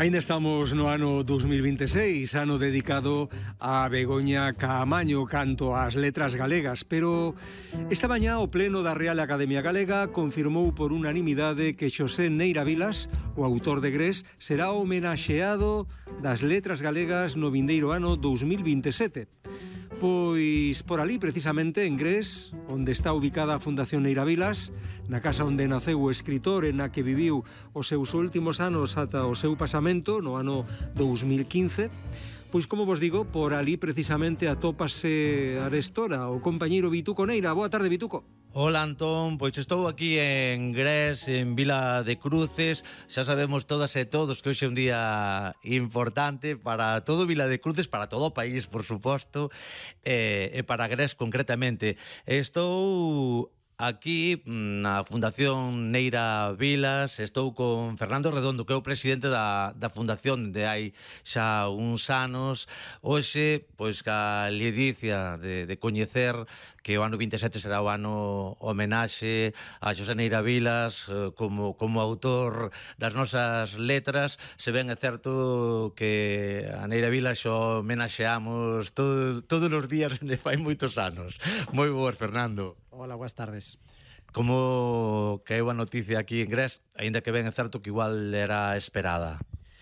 Aínda estamos no ano 2026, ano dedicado a Begoña Caamaño canto ás letras galegas, pero esta mañá o Pleno da Real Academia Galega confirmou por unanimidade que Xosé Neira Vilas, o autor de Grés, será homenaxeado das letras galegas no vindeiro ano 2027. Pois por ali, precisamente, en Grés, onde está ubicada a Fundación Neira Vilas, na casa onde naceu o escritor e na que viviu os seus últimos anos ata o seu pasamento, no ano 2015, pois, como vos digo, por ali precisamente atópase arestora o compañeiro Vituco Neira. Boa tarde, Vituco. Hola, Antón, pois estou aquí en Grés, en Vila de Cruces. Xa sabemos todas e todos que hoxe é un día importante para todo Vila de Cruces, para todo o país, por suposto, e para Grés concretamente. Estou aquí na Fundación Neira Vilas, estou con Fernando Redondo, que é o presidente da Fundación de hai xa uns anos. Hoxe, pois, ca ledicia de coñecer que o ano 27 será o ano homenaxe a Xosé Neira Vilas como autor das nosas letras. Se ben é certo que a Neira Vilas xo homenaxeamos todos os días de fai moitos anos. Moi boas, Fernando. Hola, boas tardes. Como caeu a noticia aquí en Grés, aínda que ben é certo que igual era esperada?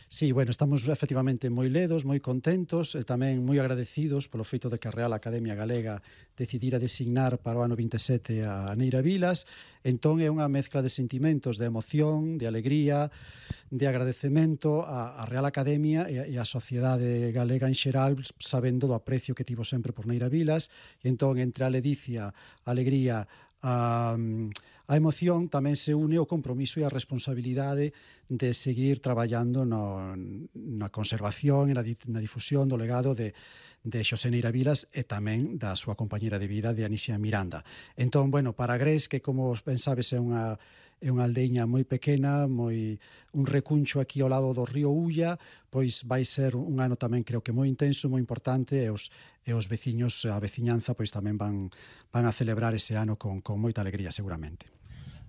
Sí, bueno, estamos efectivamente moi ledos, moi contentos e tamén moi agradecidos polo feito de que a Real Academia Galega decidira designar para o ano 27 a Neira Vilas. Entón é unha mezcla de sentimentos, de emoción, de alegría, de agradecemento á Real Academia e á sociedade galega en xeral, sabendo do aprecio que tivo sempre por Neira Vilas. E entón, entre a ledicia, a alegría, a emoción, tamén se une o compromiso e a responsabilidade de seguir traballando na conservación e na difusión do legado de Xosé Neira Vilas e tamén da súa compañera de vida, de Anisia Miranda. Entón, bueno, para Grés, que como ben sabes é unha aldeiña moi pequena, un recuncho aquí ao lado do río Ulla, pois vai ser un ano tamén creo que moi intenso, moi importante, e os veciños, a veciñanza, pois tamén van a celebrar ese ano con moita alegría, seguramente.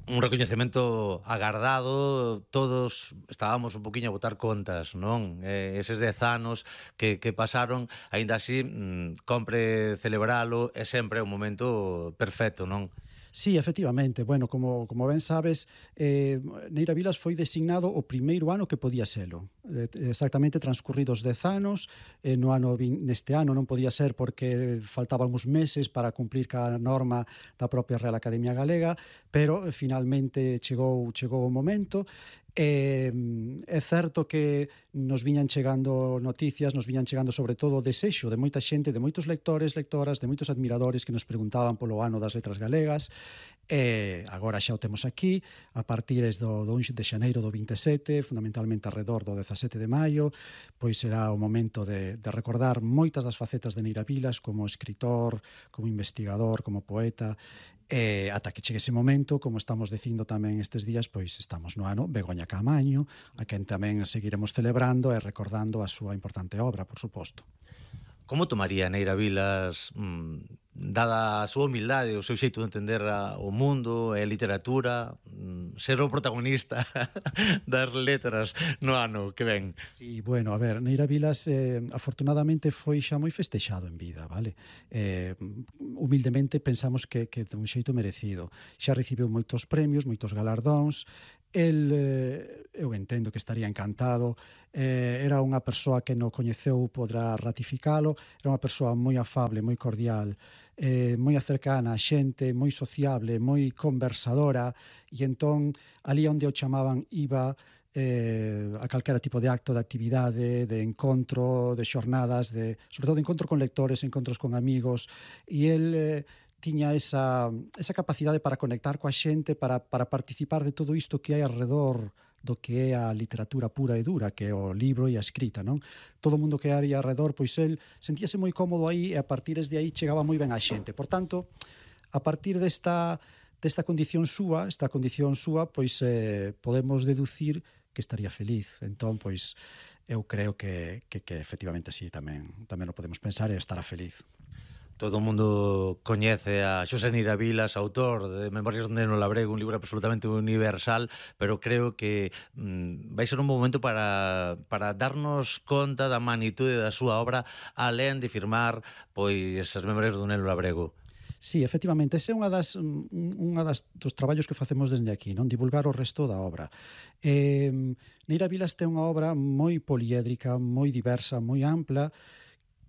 Un recoñecemento agardado, todos estábamos un poquinho a botar contas, non? Eses 10 anos que pasaron, aínda así, compre celebralo, é sempre un momento perfecto, non? Sí, efectivamente. Bueno, como ben sabes, Neira Vilas foi designado o primeiro ano que podía selo. Exactamente transcurridos 10 anos. Neste ano non podía ser porque faltaban uns meses para cumplir ca norma da propia Real Academia Galega, pero finalmente chegou o momento. É certo que nos viñan chegando noticias, nos viñan chegando sobre todo o desexo de moita xente, de moitos lectores, lectoras, de moitos admiradores que nos preguntaban polo ano das letras galegas. E agora xa o temos aquí, a partir do 1 de xaneiro do 27, fundamentalmente alrededor do 17 de maio, pois será o momento de recordar moitas das facetas de Neira Vilas como escritor, como investigador, como poeta. E ata que chegue ese momento, como estamos dicindo tamén estes días, pois estamos no ano Begoña Caamaño, a quen tamén seguiremos celebrando e recordando a súa importante obra, por suposto. Como tomaría Neira Vilas, dada a súa humildade, o seu xeito de entender o mundo e a literatura, ser o protagonista das letras no ano que ven? Sí, bueno, a ver, Neira Vilas afortunadamente foi xa moi festexado en vida, vale? Humildemente pensamos que de un xeito merecido. Xa recibiu moitos premios, moitos galardóns. Eu entendo que estaría encantado. Era unha persoa que no coñeceu podrá ratificalo. Era unha persoa moi afable, moi cordial, moi cercana a xente, moi sociable, moi conversadora, e entón ali onde o chamaban iba a calquera tipo de acto, de actividade, de encontro, de xornadas, sobre todo de encontro con lectores, encontros con amigos, e el tiña esa capacidade para conectar coa xente, para participar de todo isto que hai alrededor do que é a literatura pura e dura, que é o libro e a escrita, non? Todo o mundo que hai alrededor, pois el sentíase moi cómodo aí, e a partir de aí chegaba moi ben a xente. Por tanto, a partir desta condición súa, pois podemos deducir que estaría feliz. Entón, pois, eu creo que efectivamente sí, tamén o podemos pensar e estará feliz. Todo o mundo coñece a Xosé Neira Vilas, autor de Memorias do Neno Labrego, un libro absolutamente universal, pero creo que vai ser un bom momento para darnos conta da magnitude da súa obra, alén de firmar pois as Memorias do Neno Labrego. Sí, efectivamente, ese é unha dos traballos que facemos desde aquí, non divulgar o resto da obra. Neira Vilas ten unha obra moi poliédrica, moi diversa, moi ampla,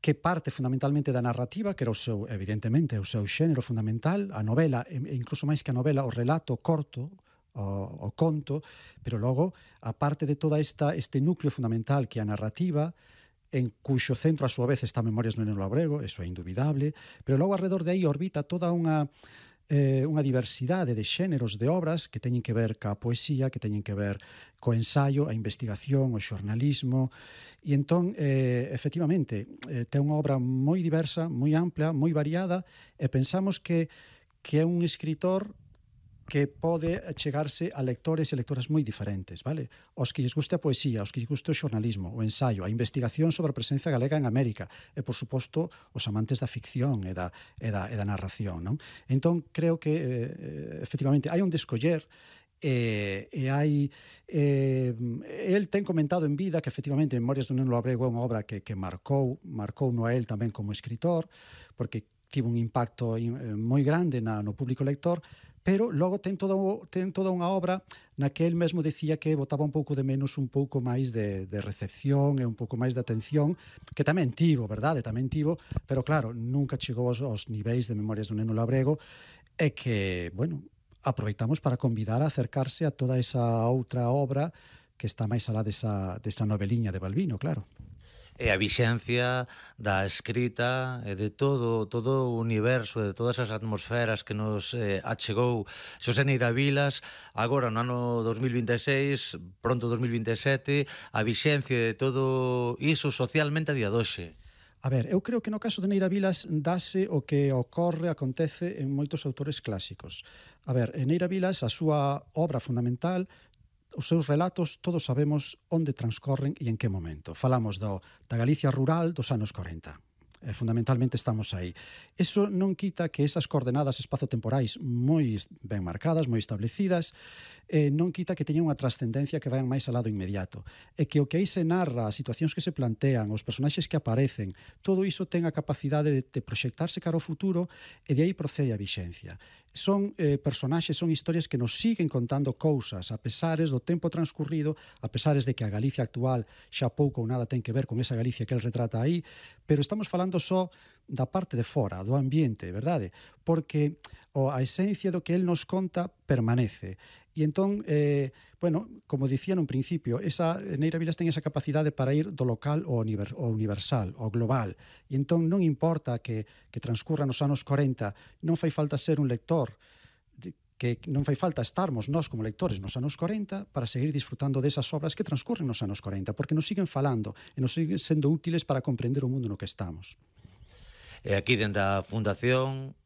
que parte fundamentalmente da narrativa, que era evidentemente, o seu xénero fundamental, a novela, e incluso máis que a novela, o relato corto, o conto, pero logo, a parte de toda este núcleo fundamental que é a narrativa, en cuxo centro a súa vez está Memorias do Neno Labrego, eso é indubidable, pero logo alrededor de aí orbita toda unha diversidade de xéneros de obras que teñen que ver ca poesía, que teñen que ver co ensaio, a investigación, o xornalismo, e entón, efectivamente, ten unha obra moi diversa, moi ampla, moi variada, e pensamos que é un escritor que pode chegarse a lectores e lectoras moi diferentes, vale? Os que lles guste a poesía, os que lles guste o xornalismo, o ensaio, a investigación sobre a presencia galega en América e, por suposto, os amantes da ficción e da narración, non? Entón, creo que, efectivamente, hai un descoller e hai el ten comentado en vida que efectivamente Memorias do Neno Labrego é unha obra que marcou no a el tamén como escritor, porque tivo un impacto moi grande no público lector, pero logo ten toda unha obra na que el mesmo decía que botaba un pouco de menos un pouco máis de recepción e un pouco máis de atención, que tamén tivo, verdade? Tamén tivo, pero claro, nunca chegou aos niveis de Memorias do Neno Labrego, e que, bueno, aproveitamos para convidar a acercarse a toda esa outra obra que está máis alá desa noveliña de Balbino, claro. E a vixencia da escrita e de todo o universo, de todas as atmosferas que nos achegou Xosé Neira Vilas, agora no ano 2026, pronto 2027, a vixencia de todo iso socialmente a día doxe. A ver, eu creo que no caso de Neira Vilas dase o que acontece en moitos autores clásicos. A ver, en Neira Vilas, a súa obra fundamental, os seus relatos todos sabemos onde transcorren e en que momento. Falamos da Galicia rural dos anos 40. Fundamentalmente estamos aí. Eso non quita que esas coordenadas espazo-temporais moi ben marcadas, moi establecidas, non quita que teñan unha trascendencia que vayan máis ao lado inmediato. E que o que aí se narra, as situacións que se plantean, os personaxes que aparecen, todo iso ten a capacidade de proxectarse cara ao futuro, e de aí procede a vixencia. Son personaxes, son historias que nos siguen contando cousas, a pesares do tempo transcurrido, a pesares de que a Galicia actual xa pouco ou nada ten que ver con esa Galicia que el retrata aí, pero estamos falando só da parte de fora, do ambiente, verdade? Porque a esencia do que el nos conta permanece. E entón, bueno, como dicía nun principio, Neira Vilas ten esa capacidade para ir do local ao universal, ao global. E entón non importa que transcurra nos anos 40, non fai falta ser un lector, que non fai falta estarmos nós como lectores nos anos 40 para seguir disfrutando desas obras que transcurren nos anos 40, porque nos siguen falando e nos siguen sendo útiles para comprender o mundo no que estamos. E aquí dentro da Fundación,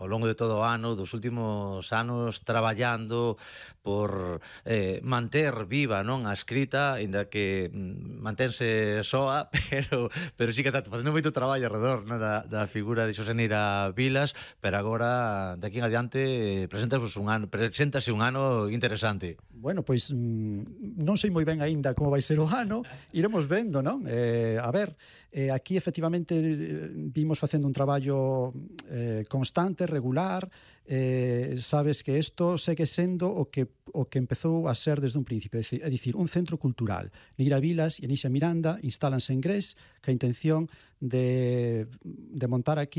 ao longo de todo o ano, dos últimos anos, traballando por manter viva, non, a escrita, ainda que mantense soa, pero sí que está facendo moito traballo alrededor, non, da figura de Xosé Neira Vilas, pero agora, de aquí en adiante, preséntase un ano interesante. Bueno, pois non sei moi ben aínda como vai ser o ano, iremos vendo, non? A ver, aquí efectivamente vimos facendo un traballo constante, regular, sabes que isto segue sendo o que empezou a ser desde un principio, é dicir, un centro cultural. Neira Vilas e Anísia Miranda instálanse en Gres ca intención de montar aquí